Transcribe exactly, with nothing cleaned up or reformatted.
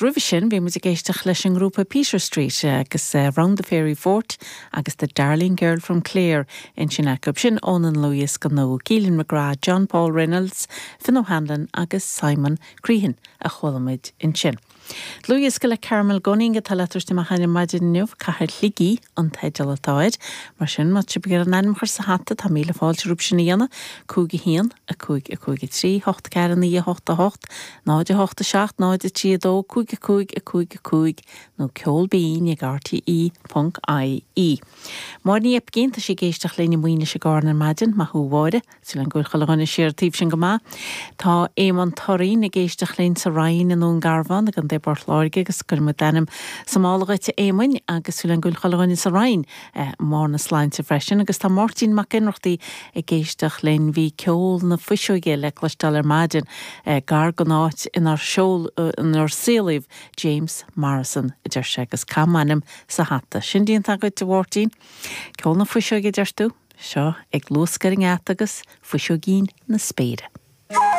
Roimhe sin bhí muid ag éisteacht leis an ngrúpa Peter Street agus uh, Round the Fairy Fort agus the Darling Girl from Clare ansin acu sin óna ndlúthdhiosca nua Keelan McGrath, John Paul Reynolds, Finn O'Hanlon agus Simon Crehan a chuala muid ansin. Dlúthdhiosca le Carmel Gunning atá le tabhairt amach ar maidin inniu Cathair Shligigh an teideal atá air, mar sin má tá sibh an ainm a chur sa hata tá míle fáilte romhaibh sin a dhéanamh, cúig a haon a cúig a cúig a trí, hocht ceathair naoi hocht a hocht, náid a hocht a seacht, náid a trí a dó, cúig a cúig a cúig a cúig nó ceol binn ag RTE ponc IE. Máire Ní Oibcín tá sí ag éisteacht linn i Maoinis i gCarna ar maidin, maith thú a Mháire, súil agam go bhfuil chuile dhuine siar taobh sin go maith. Tá Éamonn Toirín ag éisteacht linn sa Rinn i nDún Garbhán i gContae Phort Láirge agus cuirimid d'ainm sa mála dhuit a Éamoinn agus súil agam go bhfuil chuile dhuine sa Rinn eh, mórna sláinte freisin, agus tá Máirtín Mac Ionnrachtaigh ag éisteacht linn bhí ceol na fuiseoige le cloisteáil ar maidin eh, gar don áit inar seol eh, inar saolaíodh James Morrison a deir sé agus caith m'ainm sa hata. Sin déanta agat a Mháirtín, Ceol na fuiseoige deir tú, seo ag luascadh ar an ngeata agus fuiseoigín na spéire.